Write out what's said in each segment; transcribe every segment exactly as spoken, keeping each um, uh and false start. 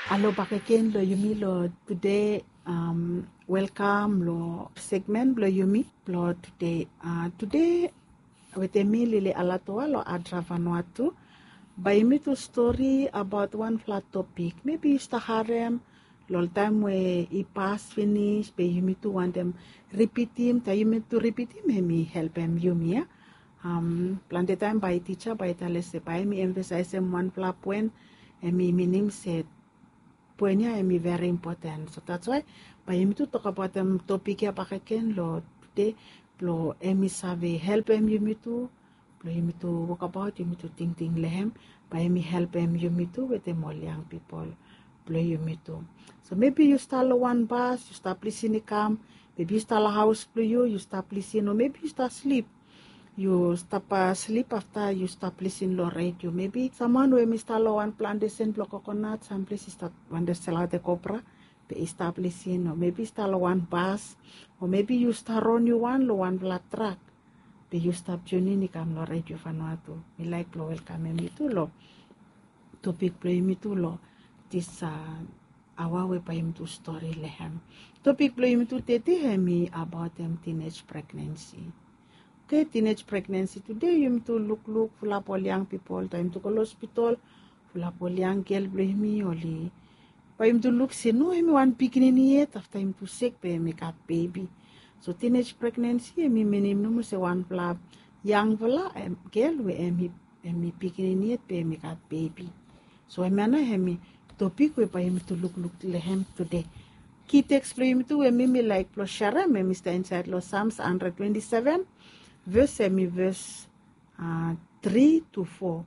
Alo bakegen lo yumi lo tude. Welkam lo segmen blo yumi blo tude. Tude wetem mi Lily Alatoa lo Adra Vanuatu. Bae yumi tu stori abaot wanfala topik. Mebi yu stap harem lo ol taem we i pas finis, be yumi tu wantem ripitim. Taem yumi tu ripitim, hemi helpem yumi ya. Plante taem bae tija bae i talem se bae hemi emfasaesem wanfala poen, hemi minim se poen ya hemi veri impoten. So that's why bae yumi tu tokbaotem topik ya bakegen lo tude, blo hemi save helpem yumi tu, blo yumi tu wokbaot, yumi tu tingting lo hem, bae hemi helpem yumi tu wetem ol yang pipol blo yumi tu. So mebi yu stap lo wan bas, yu stap lisin i kam, mebi yu stap lo haos blo yu, yu stap lisin, o mebi yu stap slip. Yu stap slip afta yu stap lisin lo redio. Mebi samwan we hemi stap lo wan plantesen blo kokonat samples, i stap wantem selaotem kopra, be i stap lisin, o mebi i stap lo wan bas, o mebi yu stap ron yu wan lo wanfala trak, be yu stap tiunin i kam lo Redio Vanuatu. Mi laek blo welkamem yu tu lo topik blo yumi tu lo dis aoa we bae yumi tu stori lo hem. Topik blo yumi tu tude hemi abaotem teenage pregnancy. Oke, teenage pregnancy tude yumi tu lukluk fulap ol yang pipol, taem yumi tu go lo hospital, fulap ol yang gel blo yumi oli, bae yumi tu luk se no, hemi wan pikinini yet, afta yumi tu sek be hemi gat bebi. So teenage pregnancy hemi minim nomo se wanfala yangfala gel we hemi pikinini yet be hemi gat bebi. So hemia nao hemi topik we bae yumi tu lukluk lo hem tude. Ki teks blo yumi tu we mi mi laek blo serem, hemi stap insaed lo Psalms hundred twenty-seven, ves hemi ves tri tu fo.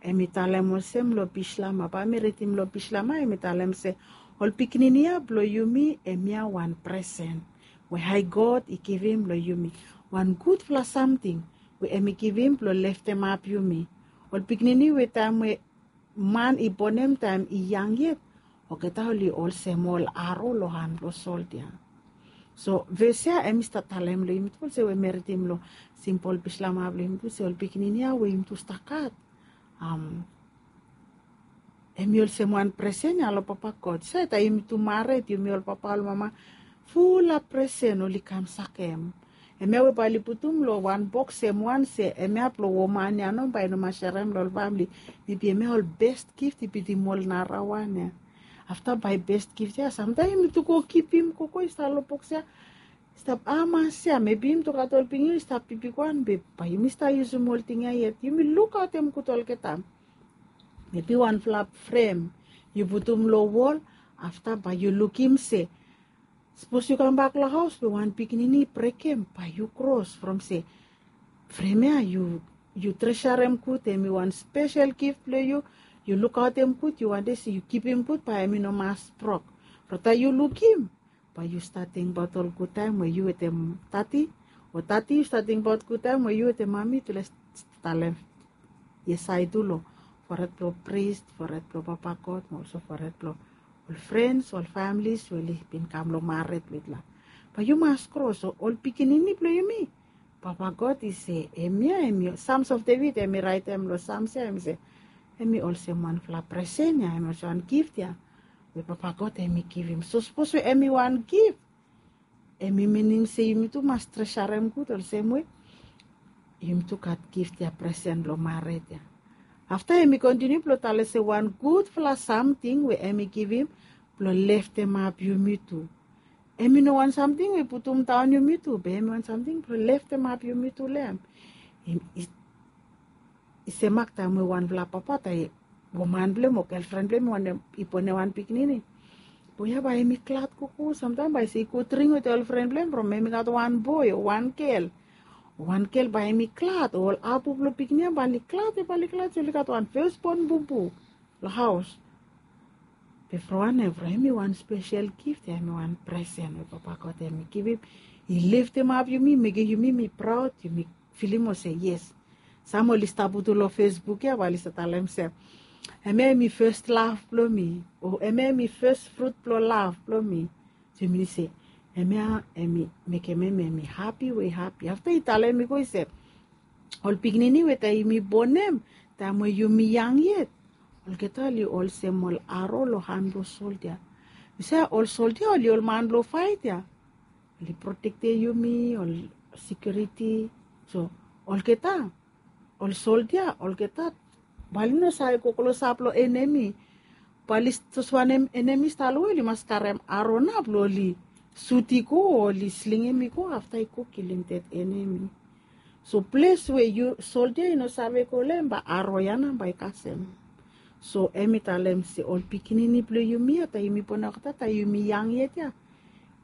Hemi talem olsem lo Bislama, bae mi ridim lo Bislama, hemi talem se, ol pikinini ya blo yumi hemia wan presen we Hae God i givim lo yumi, wan gudfala samting we hemi givim blo leftemap yumi. Ol pikinini we taem we man i bonem taem i yang yet, olgeta oli olsem ol aro lo han blo soldia. So ves ya hemi stap talem lo yumi tu olsem we mi ridim lo simpol Bislama blo yumi tu se ol pikinini ya we yumi tu stap gat, hemi olsem wan presen ya lo Papa God. Sae taem yumi tu mared, yumi ol papa ol mama, fulap presen oli kam sakem. Hemia we bae oli putum lo wan boks hem wan se hemia blo woman ya nao, bae i no mas serem lo ol famle. Mebi hemia ol best gift i bitim ol narawan ya. Afta bae best gift ya samtaem yumi tu go givim, go go i stap lo boks ya, stap hamas ya, mebi yumi tu gat ol pikinini i stap bigbigwan, be bae yumi stap yusum ol ting ya yet. Yumi lukaotem gud olgeta. Mebi wanfala frem yu putum lo wol, afta bae yu lukim se sapos yu kambak lo haos be wan pikinini i brekem, bae yu kros from se frem ya yu, yu tresarem gud, hemi wan spesel gift blo yu, yu lukaotem gud, yu wantem se yu givim gud, bae hemi no mas brok. From taem yu lukim, bae yu stap tingbaot ol gudtaem we yu wetem tati, o tati yu stap tingbaot gudtaem we yu wetem mami tu les talem. Yes, ae tu lo fored blo pris, fored blo Papa God, mo olso fored blo ol frens, ol famlis we oli bin kam lo mared wit la. Bae yu mas kros, o ol pikinini blo yumi, Papa God i se hemia, hemi, Psalms of David hemi raetem lo Psalms ya, hemi se hemi olsem wanfala presen ya, hemi olsem wan gift ya we Papa God hemi givim. So sapos we hemi wan gift, hemi minim se yumi tu mas tresarem gud olsem we yumi tu gat gift ya, presen blo mared ya. Afta hemi kontiniu blo talem se wan gudfala samting we hemi givim blo leftemap yumi tu. Hemi no wan samting we i putum daon yumi tu, be hemi wan samting blo leftemap yumi tu lo hem. I semak taem we wanfala papa, taem woman blo hem o gelfren blo hem i bonem wan pikinini, boe ya bae hemi glad gogo. Samtaem bae i se i go dring wetem ol fren blo hem from hemi gat wan boe o wan gel. Wan gel bae hemi glad, ol apu blo pikinini ya bae oli glad, bae oli glad se oli gat wan fesbon bubu lo haos. Be from wanem? From hemi wan spesel gift ya, hemi wan presen we Papa God hemi givim. I leftemap yumi, mekem yumi mi praod, yumi filim olsem yes. Sam oli stap putum lo Facebook ya bae oli stap talem se hemia hemi fes lav blo mi, o hemia hemi fes frut blo lav blo mi. So i minim se hemia hemi mekem hem hemi hapi we i hapi. Afta i talem i go i se ol pikinini we taem yumi bonem, taem we yumi yang yet, Olgeta oli olsem ol aro long han blong soldia. Yu se ol soldia oli ol man blong fait ya. Oli protektem yumi, ol sekiuriti. So olgeta ol soldia olgeta bae oli no save go klosap long enemi. Bae oli tos wanem enemi stap long we oli mas karem aro na blong oli sut i go o oli slingim i go afta i go kilim det enemi. So ples we yu soldia i no save go long hem bae aro ya nao bae i kasem. So hem i talem se ol pikinini blong yumi ya taem yumi bon olgeta taem yumi yang yet ya,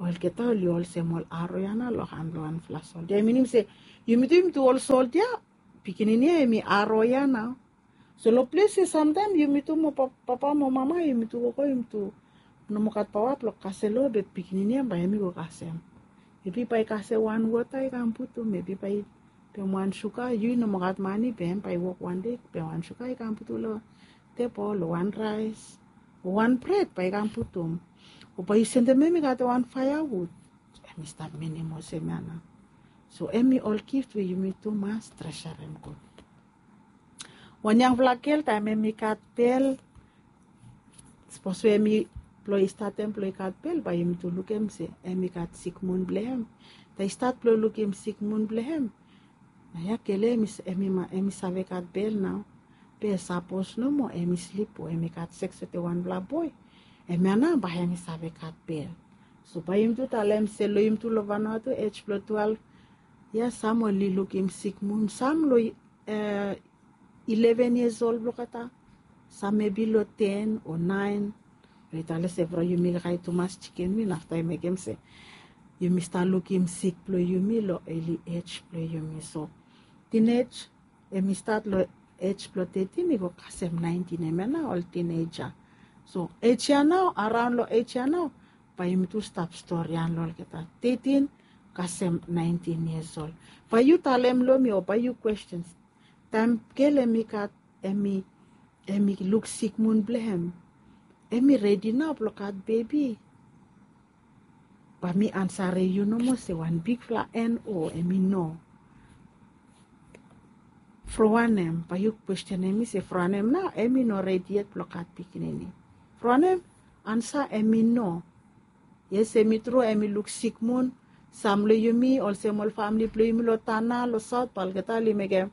olgeta oli olsem ol aro ya nao long han blong wanfala soldia. Minim se yumi tu yumi tu ol soldia, pikinini ya hem i aro ya nao. So long ples ya samtaem yumi tu mo papa mo mama yumi tu gogo yumi tu no moa gat paoa blong kasem long be pikinini ya bae hem i go kasem. Mebi bae i kasem wan wota i kam putum, mebi bae i pem wan suga, yu i no moa gat mane be hem bae i wok wan dei pem wan suga i kam putum long tebol o wan raes o wan bred bae i kam putum. O bae i sendem hem i gat wan faeawud. Hem i stap minim olsem ya nao. So hem i ol gift we yumi tu mas tresurem gud. Wan yangfala gel taem hem i gat bel, sapos we hem i blong i statem blong i gat bel bae yumi tu lukim se hem i gat sikmun blong hem. Taem i stat blong lukim sikmun blong hem, na ya gel ya hem i save gat bel nao. Be sapos nomo hem i slip o hem i gat seks wetem wanfala boe, hemia nao bae hem i save gat bel. So bae yumi tu talem se long yumi tu long Vanuatu ej blong twelve ya sam oli lukim sikmun, sam long ileven yias ol blong olgeta, sam mebi long ten o naen. Oli talem se from yumi kakae tumas jikin win afta i mekem se yumi stap lukim sik blong yumi long eli ej blong yumi. So tinej hem i stat long ej blong tetin i go kasem naentin, hemia nao ol tineja. So ej ya nao araon long ej ya nao bae yumi tu stap storian long olgeta tetin kasem naentin yias ol. Bae yu talem long mi o bae yu kwestin, taem gel hem i gat hem i hem i luk sikmun blong hem, hem i redi nao blong gat bebi? Bae mi ansarem yu nomo se wan bigfala en o hem i no. From wanem? Bae yu kwestenem mi se from wanem nao hem i no redi yet blong gat pikinini? From wanem? Ansa hem i no. Yes hem i tru hem i luk sikmun. Sam long yumi olsem ol famili blong yumi long Tanna long saot bae olgeta oli mekem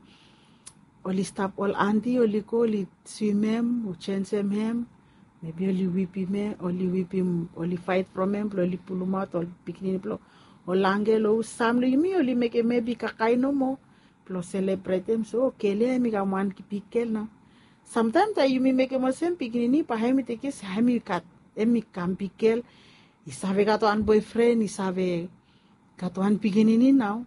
oli stap ol anti oli go oli swimem o jensem hem. Mebi oli wipim hem oli wipim oli faet from hem blong oli pulumaot ol pikinini blong ol angel o sam long yumi oli mekem mebi kakae nomo blong selebretem se o gel ya hem i kam wan bigel nao. Samtaem taem yumi mekem olsem pikinini bae hem i tekem se hem i gat hem i kam bigel, i save gat wan boefren, i save gat wan pikinini nao.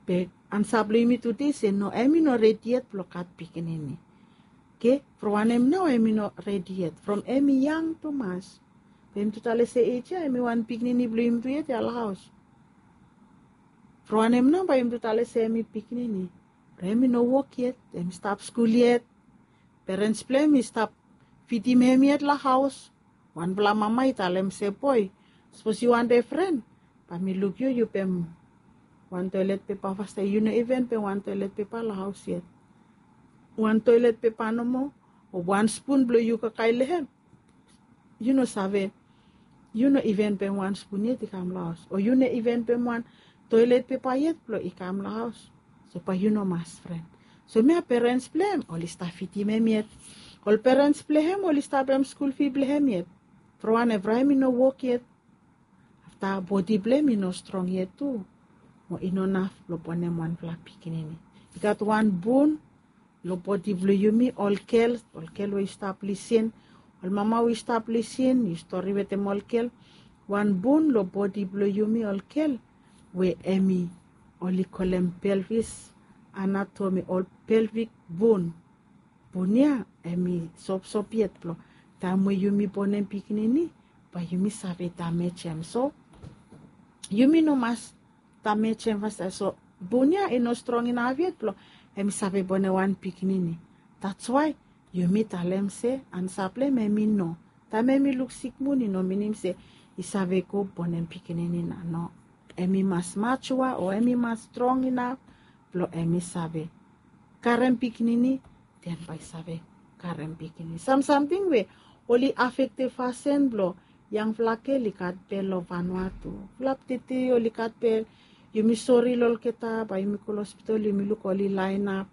Be ansa blong yumi tude se no, hem i no redi yet blong gat pikinini. Oke, from wanem nao hem i no redi yet? From hem i yang tumas. Be yumi tu talem se ej ya hem i wan pikinini blong yumi tu yet ya long haos. From wanem nao bae yumi tu talem se hem i pikinini? From hem i no wok yet, hem i stap skul yet. Perens blong hem i stap fidim hem yet long haos. Wanfala mama i talem se boe, sapos yu wantem fren bae mi luk yu yu pem wan toelet pepa fastaem. Yu no iven pem wan toelet pepa long haos yet. Wan toelet pepa nomo o wan spun blong yu kakae long hem, yu no save. Yu no iven pem wan spun yet i kam long haos o yu no iven pem wan toelet pepa yet blong i kam long haos. So bae yu no mas fren. So hemia perens blong hem oli stap fidim hem yet. Ol perens blong hem oli stap pem skul fi blong hem yet. From wanem? From hem i no wok yet. Afta bodi blong hem i no strong yet tu mo i no naf blong bonem wanfala pikinini. I gat wan bun long bodi blong yumi ol gel, ol gel we i stap lisin, ol mama we i stap lisin, yu stori wetem ol gel. Wan bun long bodi blong yumi ol gel we hem i oli kolem pelvis anatomi o pelvik bun. Bun ya hem i sopsop yet blong taem we yumi bonem pikinini bae yumi save damejem. So yumi no mas damejem fastaem. So bun ya i no strong inaf yet blong hem i save bonem wan pikinini. That's why yumi talem se ansa blong hem hem i no. Taem hem i luk sikmun i no minim se i save go bonem pikinini nao. No, hem i mas majua o hem i mas strong inaf blong hem i save karem pikinini, den bae i save karem pikinini. Sam samting we oli afektem fasin blong yangfala gel i gat bel long Vanuatu. Fulap tete oli gat bel, yumi sori long olgeta, bae yumi go long hospital yumi luk oli laenap,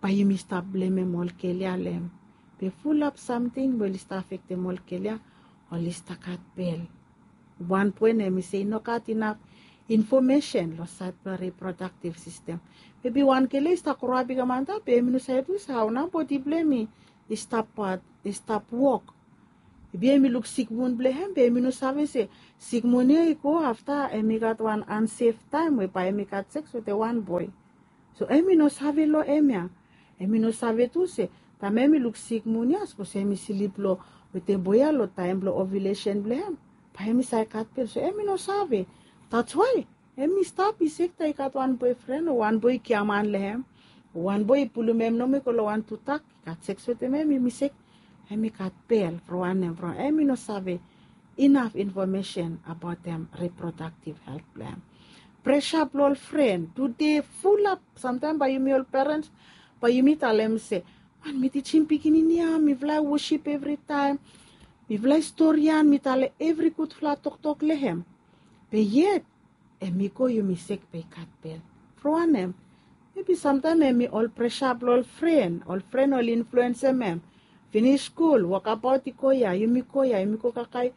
bae yumi stap blemem ol gel ya long hem. Be fulap samting we oli stap afektem ol gel ya, oli stap gat bel. Wan poen hemi se i no gat inaf infomesen long saed blong riprodaktiv sistem. Mebi wan gel ya i stap groap i kam antap be hemi no save tu se hao nao bodi blong hem i stap pat, i stap wok. Mebi hemi luk sikmun blong hem be hemi no save se sikmun ya i go afta hemi gat wan ansef taem we bae hemi gat seks wetem wan boe. So hemi no save long hem ya. Hemi no save tu se taem hemi luk sikmun ya, sapos hemi slip long wetem boe ya long taem blong ovulesen blong hem, bae hemi save gat bel. So hemi no save. That's why hemi stap i sek taem i gat wan boefren o wan boe i giaman long hem, o wan boe i pulum hem nomo i go long wan tudak, i gat seks wetem hem, hemi sek, hemi gat bel. From wanem? From hemi no save inaf infomesen abaotem riprodaktiv helt blong hem. Presa blong ol fren tude fulap. Samtaem bae yumi ol perens bae yumi talem se, man, mi tijim pikinini ya, mifala i wosip evritaem, mifala i storian, mi talem evri gudfala toktok long hem. Be yet hemi go, yumi sek be i gat bel. From wanem? Mebi samtaem hemi ol presa blong ol fren, ol fren oli influensem hem. Finis skul, wokabaot i go ya, yumi go ya, yumi go kakae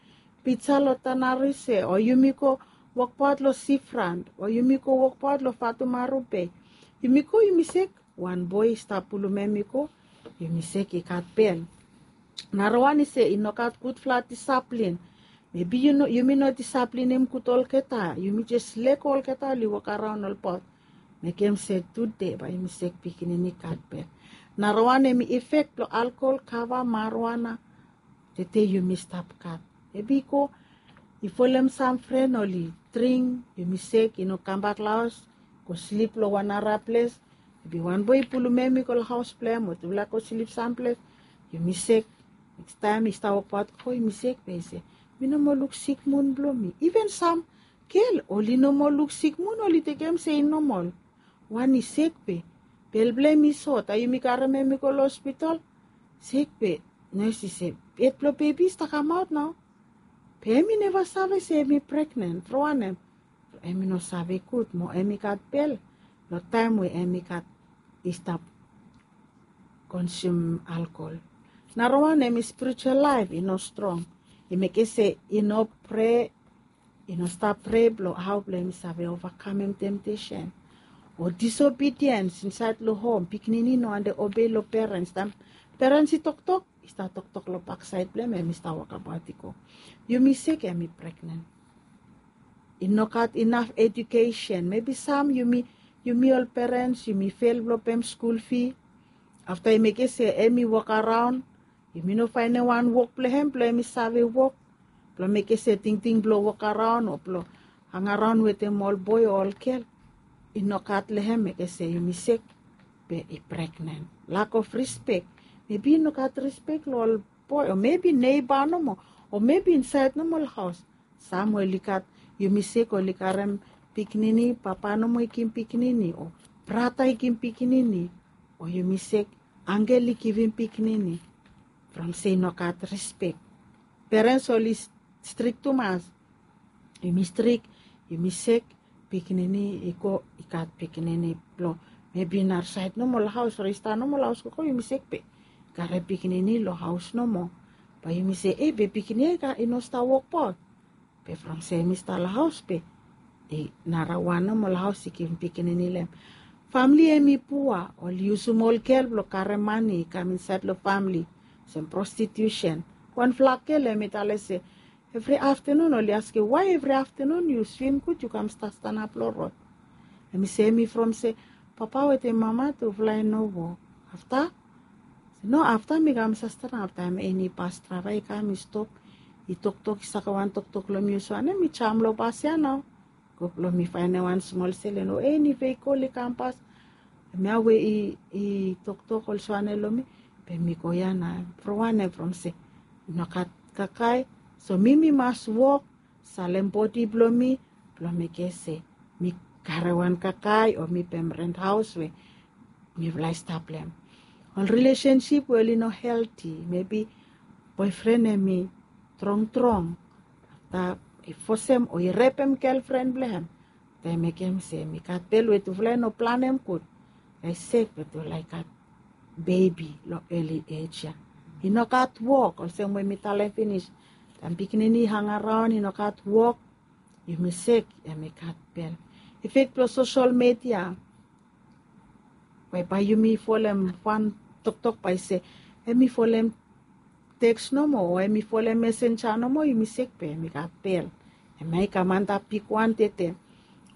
pija long Tanarese, o yumi go wokbaot long Seafront, o yumi go wokbaot long Fatumaru Bei. Yumi go, yumi sek, wan boe i stap pulum hem i go, yumi sek i gat bel. Narawan i se i no gat gudfala disaplin. Mebi yumi no disaplinim gud olgeta, yumi jes lego olgeta oli wokaraon olbaot. Mekem se tude bae yumi sek pikinini gat bel. Narawan hemi efek blong alkol, kava, marijuana. Tede yumi stap gat. Mebi i go i folem sam fren oli dring, yumi sek, i no kambak long haos, go slip long wan nara ples. Mebi wan boe i pulum hem i go long haos blong hem o tufala go slip samples. Yumi sek. Nekstaem i stap wokbaot go, yumi sek be i se, mi no moa luk sikmun blong mi. Iven sam gel oli no moa luk sikmun, oli tekem se i nomol. Wan i sek be bel blong hem i sot, a yumi karem hem i go long hospital. Sek be nes i se, hed blong bebi i stap kamaot nao. Be hemi neva save se hemi pregnen. From wanem? Hemi no save gud mo hemi gat bel long taem we hemi gat, i stap konsum alkol. Narawan hemi spiritual laef i no strong. I mekem se i no prea, i no stap prea blong hao blong hemi save ovakamem temtesen. O disobediens insaed long hom, pikinini no wantem obei long perens. Taem perens i toktok, i stap toktok long baksaed blong hem, hemi stap wokabaot i go. Yumi sek, hemi pregnen. I no gat inaf edukesen. Mebi sam yumi, yumi ol perens yumi fel blong pem skul fi. Afta i mekem se hemi wokaraon, yumi no faenem wan wok blong hem blong hemi save wok, blong mekem se tingting blong wokaraon o blong hangaraon wetem ol boe o ol gel i no gat long hem, mekem se yumi sek be i pregnen. Lack of respect. Mebi i no gat respect long ol boe, o mebi neiba nomo, o mebi insaed nomo long haos. Sam we oli gat, yumi sek, oli karem pikinini, papa nomo i givim pikinini, o brata i givim pikinini, o yumi sek, angel i givim pikinini. From se i no gat respect. Perens oli strik tumas. Yumi strik, yumi sek, pikinini i go, i gat pikinini blong, mebi narasaed nomo long haos, o i stap nomo long haos gogo, yumi sek be karem pikinini long haos nomo. Bae yumi se, e, be pikinini ya i no stap wokbaot. Be from se hemi stap long haos be i narawan nomo long haos i givim pikinini long hem. Famle hemi pua, oli yusum ol gel blong karem mane i kam insaed long famle. Olsem prostitusen. Wanfala gel hemi talem se evri aftenun oli askem, wae evri aftenun yu swim gud yu kam stap stanap long rod? Hemi se hemi from se papa wetem mama tufala i no wok. Afta, se no, afta mi kam stap stanap taem eni bas draeva i kam i stop, i toktok, i sakem wan toktok long mi olsem wanem, mi jam long bas ya nao go blong mi faenem wan smol sel, no, eni veikol i kampas, hemia we i toktok olsem wanem long mi, be mi go ya nao. From wanem? From se i no gat kakae. So mi mi mas wok, salem bodi blong mi blong mekem se mi karem wan kakae o mi pem rent haos we mifala i stap long hem. Ol rilesensip we oli no helti, mebi boefren hem i trongtrong, afta i fosem o i repem gelfren blong hem. Afta i mekem se hem i gat bel we tufala i no planem gud. Afta i sek we tufala i gat bebi long eli ej ya. I no gat wok, olsem we mi talem finis, taem pikinini i hangaraon i no gat wok, yumi sek hem i gat bel. Efek blong sosol media we bae yumi folem wan toktok bae se hem i folem teks nomo o hem i folem mesenja nomo, yumi sek be hem i gat bel. Hem ya i kam antap bigwan tete.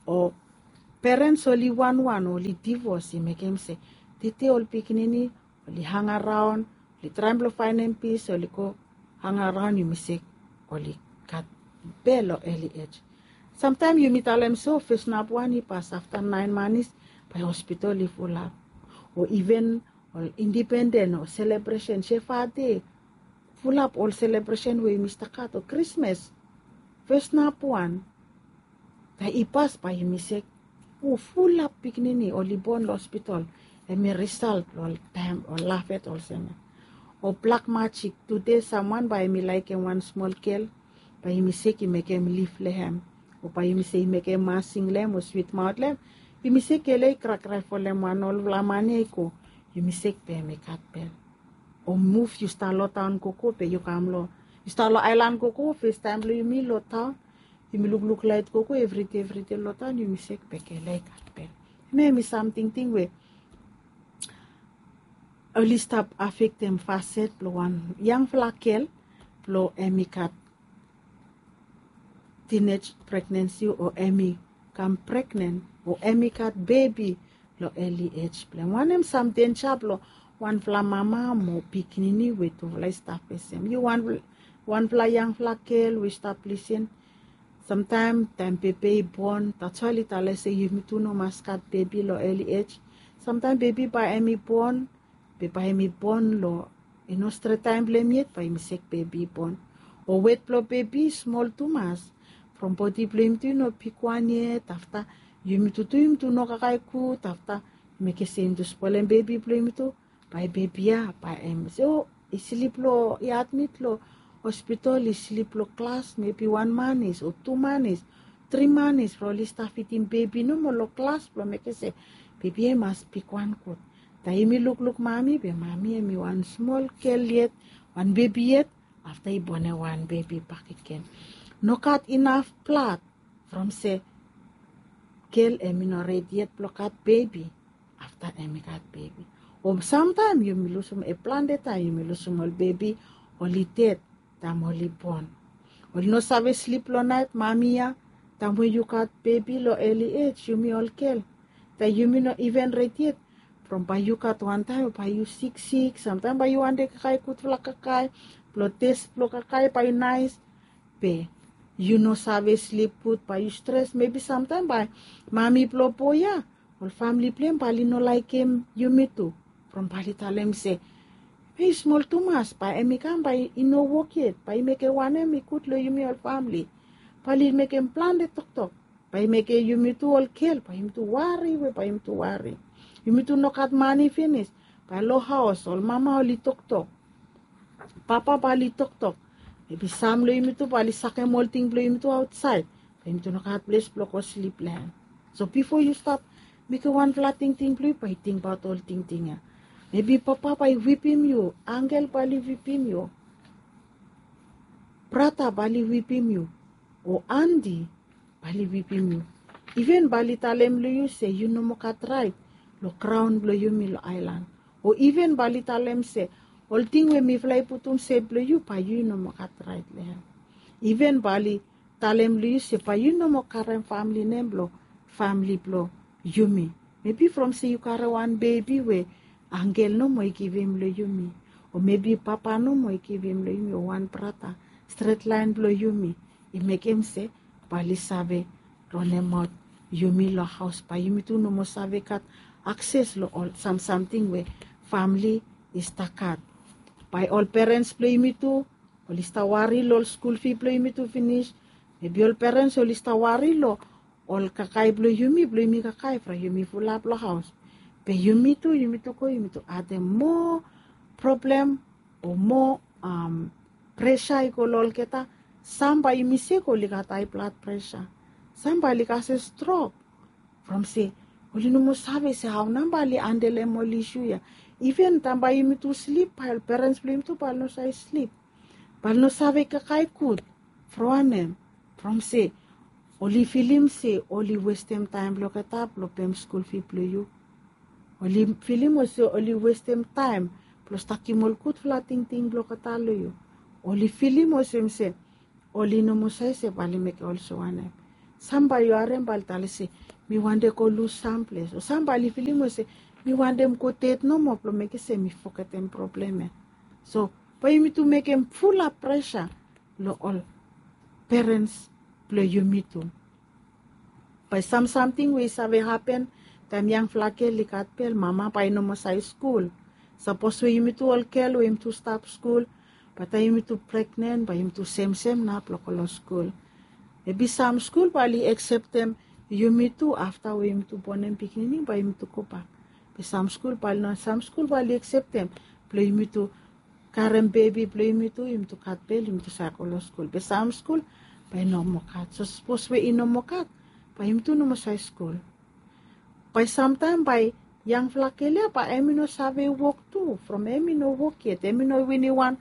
O perens oli wanwan o oli divos i mekem se tete ol pikinini oli hangaraon, oli traem blong faenem pis, oli go hangaraon, yumi sek oli gat bel long eli ej. Samtaem yumi talem se o fes nap wan i pas, afta naen manis bae hospital i fulap. O iven ol indipenden o selebresen, Shefa Dei, fulap ol selebresen we yumi stap gat, o Krismas, fes nap wan taem i pas bae yumi sek o fulap pikinini oli bon long hospital. Hem i risalt blong ol taem ol lafet olsem ya. O blak majik, tude samwan bae hem i laekem wan smol gel, bae yumi sek i mekem lif long hem, o bae yumi se i mekem masing long hem o switmaot long hem. Yumi sek ele i krakrae folem wan olfala mane i go. Yumi sek be hem i gat bel. O muf yu stap long taon gogo be yu kam long, yu stap long aelan gogo, festaem blong yumi long taon. Yumi lukluk laet gogo evri dei evri dei long taon, yumi sek be gel ya i gat bel. Hem ya hem i sam tingting we oli stap afektem faset blong wan yangfala gel blong hem i gat tinej pregnensi o hem i kam pregnen o hem i gat bebi long eli ej blong hem. Wanem sam denja blong wanfala mama mo pikinini we tufala i stap fesem? Yu wan, wanfala yangfala gel we i stap lisin. Samtaem taem bebe i bon, tasol i talem se yumi tu no mas gat bebi long eli ej. Samtaem bebi bae hem i bon, be bae hem i bon long i no stret taem blong hem yet, bae yumi sek bebi i bon. O wet blong bebi i smol tumas. From bodi blong yumi tu i no bigwan yet, afta yumi tu tu yumi tu no kakae gud, afta i mekem se yumi tu spolem bebi blong yumi tu, bae bebi ya bae hem, so i slip long, i admit long hospital, i slip long glas mebi wan manis o tu manis, tri manis from oli stap fidim bebi nomo long glas blong mekem se bebi ya i mas bigwan gud. Taem yumi lukluk mami, be mami hem i wan smol gel yet, wan bebi yet, afta i bonem wan bebi bakegen. No gat inaf blad from se gel hem i no redi yet blong gat bebi, afta hem i gat bebi. O samtaem yumi lusum, e plante taem yumi lusum ol bebi oli ded taem oli bon. Oli no save slip long naet, mami ya, taem we yu gat bebi long eli ej, yumi ol gel, taem yumi no iven redi yet. From bae yu gat wan taem bae yu siksik, samtaem bae yu wantem kakae gudfala kakae, blong tes blong kakae bae i naes, be yu no save slip gud, bae yu stres, mebi samtaem bae mami blong boe ya, ol famili blong hem bae oli no laekem yumi tu. From bae oli talem se, hei, smol tumas, bae hem i kam bae i no wok yet, bae i mekem wanem i gud long yumi ol famili. Bae oli mekem plante toktok, bae i mekem yumi tu ol gel, bae yumi tu wari, we bae yumi tu wari. Yumi tu no gat mane finis, bae long haos ol mama oli toktok, papa bae oli toktok. Mebi sam long yumi tu bae oli sakem ol ting blong yumi tu aotsaed, bae yumi tu no gat ples blong go slip long hem. So bifo yu stap mekem wanfala tingting blong yu, bae yu tingbaot ol tingting ya. Mebi papa bae i wipim yu, angel bae oli wipim yu, brata bae oli wipim yu, o anti bae oli wipim yu. Iven bae oli talem long yu se yu no moa gat raet long graon blong yumi long aelan. O iven bae oli talem se ol ting we mifala i putum se blong yu, bae yu no moa gat raet long hem. Iven bae oli talem long yu se bae yu no moa karem famili nem blong famili blong yumi. Mebi from se yu karem wan bebi we angel nomo i givim long yumi, o mebi papa nomo i givim long yumi, o wan brata stret laen blong yumi, i mekem se bae oli save ronemaot yumi long haos, bae yumi tu no moa save gat akses long ol samsamting we famili i stap gat. Bae ol perens blong yumi tu oli stap wari long ol skul fi blong yumi tu finis. Mebi ol perens oli stap wari long ol kakae blong yumi, blong yumi kakae from yumi fulap long haos. Be yumi tu yumi tu go yumi tu adem moa problem o moa presa i go long olgeta. Sam bae yumi sik oli gat hai blad presa. Sam bae oli kasem strok from se oli no moa save se hao nao bae oli handelem ol isu ya. Iven taem bae yumi tu slip bae ol perens blong yumi tu bae oli no save slip, bae oli no save kakae gud. From wanem? From se oli filim se oli westem taem blong olgeta blong pem skul fi blong yu. Oli filim olsem oli westem taem blong stakim ol gudfala tingting blong olgeta long yu. Oli filim olsem se oli no moa save se bae oli mekem olsem wanem. Sam bae yu harem bae oli talem se mi wantem go lus samples, o sam bae oli filim olsem mi wantem go ded nomo blong mekem se mi fogetem problem ya. So bae yumi tu mekem fulap presa long ol perens blong yumi tu. Bae sam samting we i save hapen taem yangfala gel i gat bel, mama bae i no moa save skul. Sapos we yumi tu ol gel we yumi tu stap skul, bae taem yumi tu pregnen bae yumi tu semsem nao blong go long skul. Mebi sam skul bae oli akseptem yumi tu afta we yumi tu bonem pikinini bae yumi tu gobak. Be sam skul bae oli no, sam skul bae oli akseptem blong yumi tu karem bebi blong yumi tu, yumi tu gat bel yumi tu save go long skul. Be sam skul bae i no moa gat. So sapos we i no moa gat, bae yumi tu no moa save skul. Bae samtaem bae yangfala gel ya bae hemi no save wok tu from hemi no wok yet, hemi no winim wan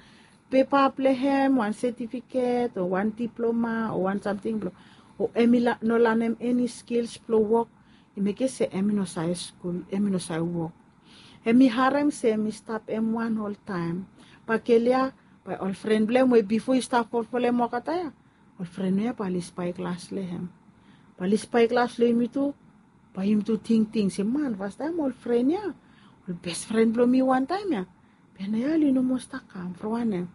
pepa blong hem, wan setifiket o wan diploma o wan samting blong, o hemi no lanem eni skils blong wok. I mekem se hemi no save skul, hemi no save wok. Hemi harem se hemi stap hem wan oltaem. Bae gel ya, bae ol fren blong hem we bifo i stap folfolem olgeta ya, ol fren ya bae oli spaeglas long hem. Bae oli spaeglas long yumi tu. Bae yumi tu tingting se man, fastaem ol fren ya, ol bes fren blong mi wantaem ya, be naoia oli no moa stap kam. From wanem?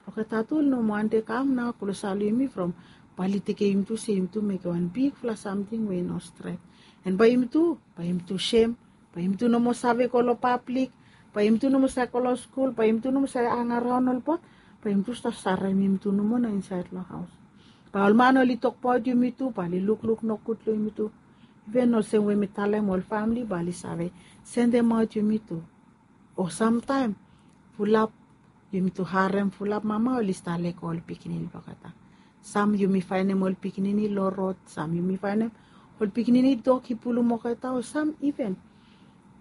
From olgeta tu oli no moa wantem kam nao klosap long yumi from bae oli tekem yumi tu se yumi tu mekem wan bigfala samting we i no stret. An bae yumi tu, bae yumi tu sem. Bae yumi tu no moa save go long pablik. Bae yumi tu no moa save go long skul. Bae yumi tu no moa save hangaraon ol boi. Bae yumi tu stap sarem yumi tu nomo nao insaed long haos. Bae ol man oli tokbaot yumi tu, bae oli lukluk nogud long yumi tu. Iven olsem we mi talem, ol famle bae oli save sendemaot yumi tu. O samtaem fulap yumi tu harem fulap mama oli stap lego ol pikinini blong olgeta. Sam yumi faenem ol pikinini long rod, sam yumi faenem ol pikinini dog i pulum olgeta, o sam iven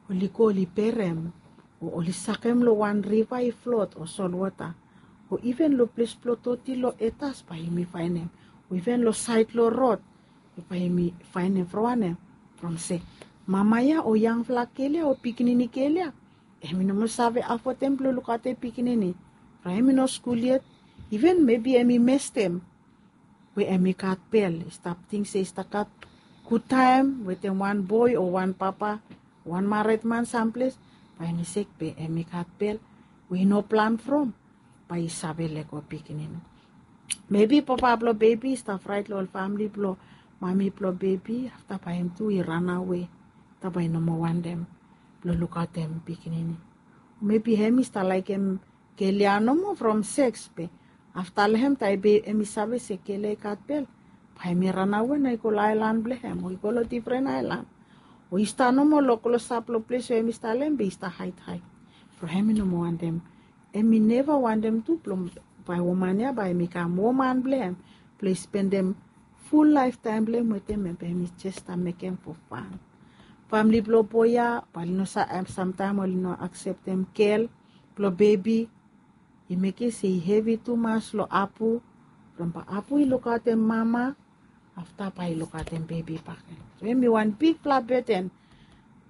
oli go oli berem, o oli sakem long wan riva i flot o solwota, o iven long ples blong doti long etas bae yumi faenem, o iven long saed long rod bae yumi faenem. From wanem? From se mama ya o yangfala gel ya o pikinini gel ya, hemi no moa save afodem blong lukaotem pikinini. From hemi no skul yet, iven mebi hemi mestem we hemi gat bel, i stap ting se i stap gat gudtaem wetem wan boi o wan papa, wan maredman samples, bae hemi sek be hemi gat bel we i no plan from, bae i save lego pikinini. Mebi papa blong bebi i stap fraet long ol famle blong mami blong bebi, afta bae hem tu i ranawe, afta bae i no moa wantem blong lukaotem pikinini. Mebi hem i stap laekem gel ya nomo from seks, be afta long hem taem be hem i save se gel ya i gat bel, bae hem i ranawe nao i go long aelan blong hem o i go long difren aelan, o i stap nomo long klosap long ples we hem i stap long hem be i stap haedhaed. From hem i no moa wantem, hem i neva wantem tu blong bae woman ya bae hem i kam woman blong hem, blong i spendem ful laeftaem blong hem wetem hem, be hem i jes stap mekem fo fan. Famle blong boi ya bae oli no sa, samtaem oli no akseptem gel blong bebi. I mekem se i hevi tumas long apu, from bae apu i lukaotem mama, afta bae i lukaotem bebi bakegen. So hem i wan bigfala beten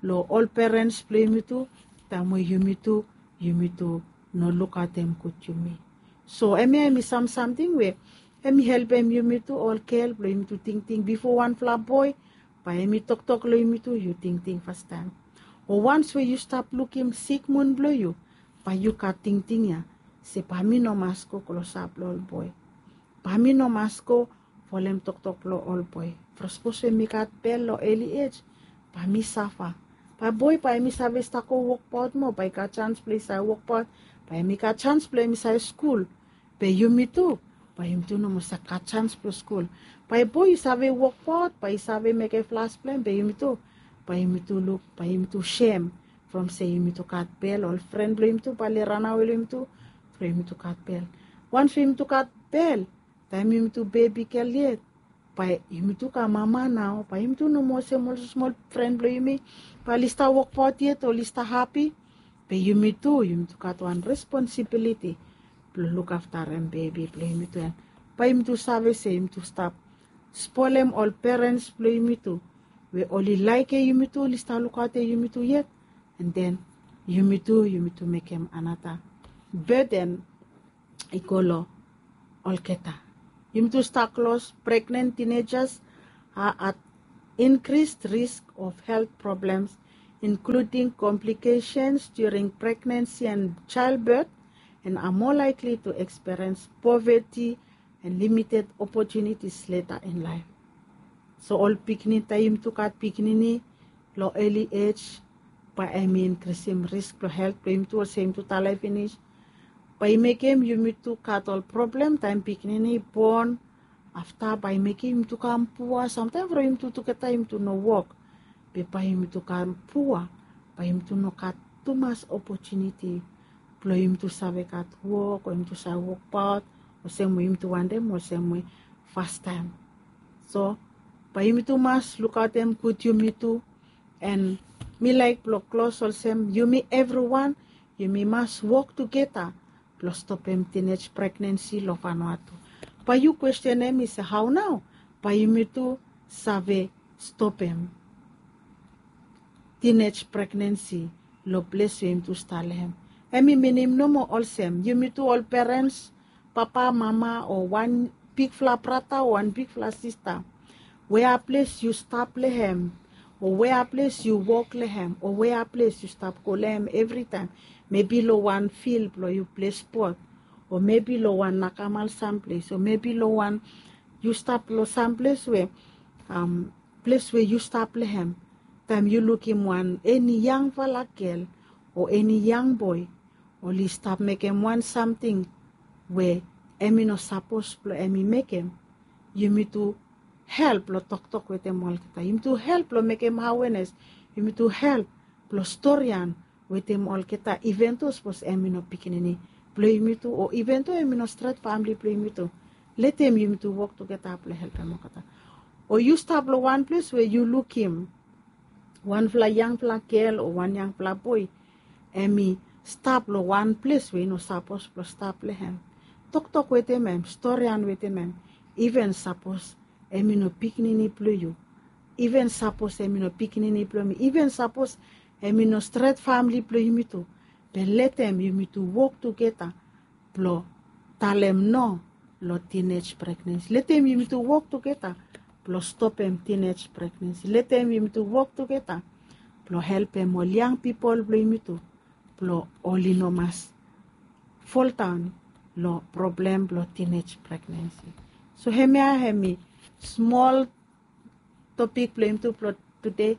long ol perens blong yumi tu, taem we yumi tu, yumi tu no lukaotem gud yumi. So hemia hem i sam samting we hem i helpem yumi tu ol gel blong yumi tu tingting bifo wanfala boi bae hem i toktok long yumi tu, yu tingting fastaem. O wans we yu stap lukim sikmun blong yu, bae yu gat tingting ya se bae mi no mas go klosap long ol boi. Bae mi no mas go folem toktok blong ol boi. From sapos we mi gat bel long eli ej, bae mi safa. Bae boi bae hem i save stap go wokbaot moa, bae i gat janis blong i save wokbaot, bae hem i gat janis blong hem i save skul. Be yumi tu, bae yumi tu no moa save gat janis blong skul. Bae boi i save wokbaot, bae i save mekem flas blong hem, be yumi tu Bae yumitu luk, bae yumitu sem from se yumitu gat bel, ol fren blong yumitu bae oli ranawe long yumitu from yumitu gat bel. Wans we yumitu gat bel, taem yumitu bebi gel yet, bae yumitu kam mama nao, bae yumitu no moa olsem ol smol fren blong yumi bae oli stap wokbaot yet, oli stap hapi. Be yumitu, yumitu gat wan responsibiliti blong lukaftarem bebi blong yumitu. An bae yumitu save se yumitu stap spolem ol perens blong yumitu we oli laekem yumitu, oli stap lukaotem yumitu yet. An den yumitu, yumitu mekem anata beden i go long olgeta. Yumitu stap klos, pregnen tinejas are at increased risk of health problems, including complications during pregnancy and childbirth, and are more likely to experience poverty and limited opportunities later in life. So ol pikinini, taem yumitu gat pikinini long early age, bae hemi inkrisim risk blong helt blong yumitu, olsem yumitu talem finis. Bae i mekem yumitu gat ol problem taem pikinini i bon. Afta bae i mekem yumitu kam pua. Samtaem from yumitu tugeta yumitu no wok, be bae yumitu kam pua. Bae yumitu no gat tumas opotuniti blong yumitu save gat wok o yumitu save wokbaot olsem we yumitu wantem, olsem we fastaem. So bae yumitu mas lukaotem gud yumitu. An mi laek blong klos olsem, yumi evriwan, yumi mas wok tugeta blong stopem tinej pregnensi long Vanuatu. Bae yu kwestenem mi se, hao nao bae yumitu save stopem tinej pregnensi long ples we yumitu stap long hem? Hemi minim nomo olsem, yumitu ol perens, papa, mama, o wan bigfala brata o wan bigfala sista, wea ples yu stap long hem, o wea ples yu wok long hem, o wea ples yu stap go long hem evritaem, mebi long wan fil blong yu ple spot, o mebi long wan nakamal samples, o mebi long wan, yu stap long samples we, am, ples we yu stap long hem, taem yu lukim wan eni yangfala gel o eni yang boe oli stap mekem wan samting we hemi no sapos blong hemi mekem, yumitu help long toktok wetem olgeta. Yumitu help long mekem awenes. Yumitu help blong storian wetem olgeta, iven do sapos hemi no pikinini blong yumitu, o iven do hemi no stret famle blong yumitu. Letem yumitu wok tugeta blong helpem olgeta. O yu stap long wan ples we yu lukim wanfala yangfala gel o wan yangfala boe hemi stap long wan ples we i no sapos blong stap long hem. Toktok wetem hem, storian wetem hem. Iven sapos hemi no pikinini blong yu, iven sapos hemi no pikinini blong mi, iven sapos hemi no stret famle blong yumitu, be letem yumitu wok tugeta blong talem no long tinej pregnensi. Letem yumitu wok tugeta blong stopem tinej pregnensi. Letem yumitu wok tugeta blong helpem ol yang pipol blong yumitu blong oli no mas foldaon long problem blong tinej pregnensi. So hemia hemi smol topik blong yumitu blong tude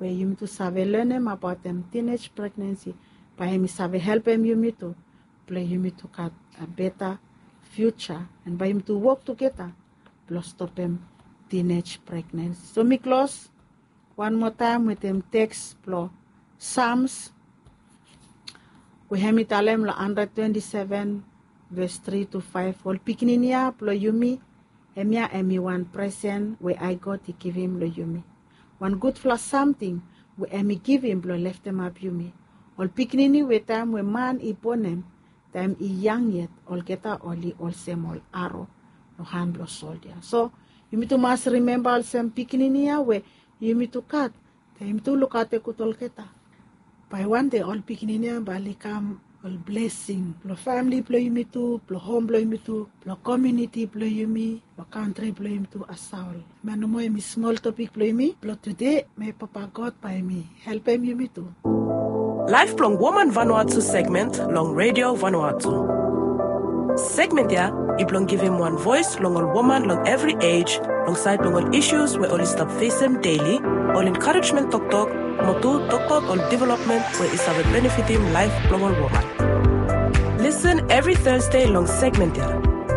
we yumitu save lanem abaotem tinej pregnensi. Bae hemi save helpem yumitu blong yumitu gat a beta fiuja, an bae yumitu wok tugeta blong stopem tinej pregnensi. So mi klos wan moa taem wetem teks blong Sams we hemi talem long handred twenti seven, ves tri tu faef, ol pikinini ya blong yumi, hemia hemi wan presen we ae God i givim long yumi. Wan gudfala samting we hemi givim blong leftemap yumi. Ol pikinini we taem we man i bonem, taem i yang yet, olgeta oli olsem ol aro long han blong soldia. So yumitu mas rimemba olsem pikinini ya we yumitu gat, taem yumitu lukaotem gud olgeta, bae wande ol pikinini ya bae oli kam ol blesing blong famle blong yumitu, blong hom blong yumitu, blong komuniti blong yumi, long kantri blong yumitu asol. Hemia nomo hemi smol topik blong yumi blong tude. Mei Papa God bae hemi helpem yumitu. Laef blong Woman Vanuatu segment long Redio Vanuatu. Segment ya i blong givim wan voes long ol woman long evri ej, long saed blong ol isus we oli stap fesem deli, ol enkarejmen toktok, mo tu tokbaot ol developmen we i save benefitim laef blong ol woman. Lisen evri Thursday long segment ya.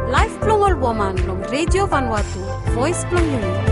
Laef blong ol woman long Redio Vanuatu, voes blong yumi.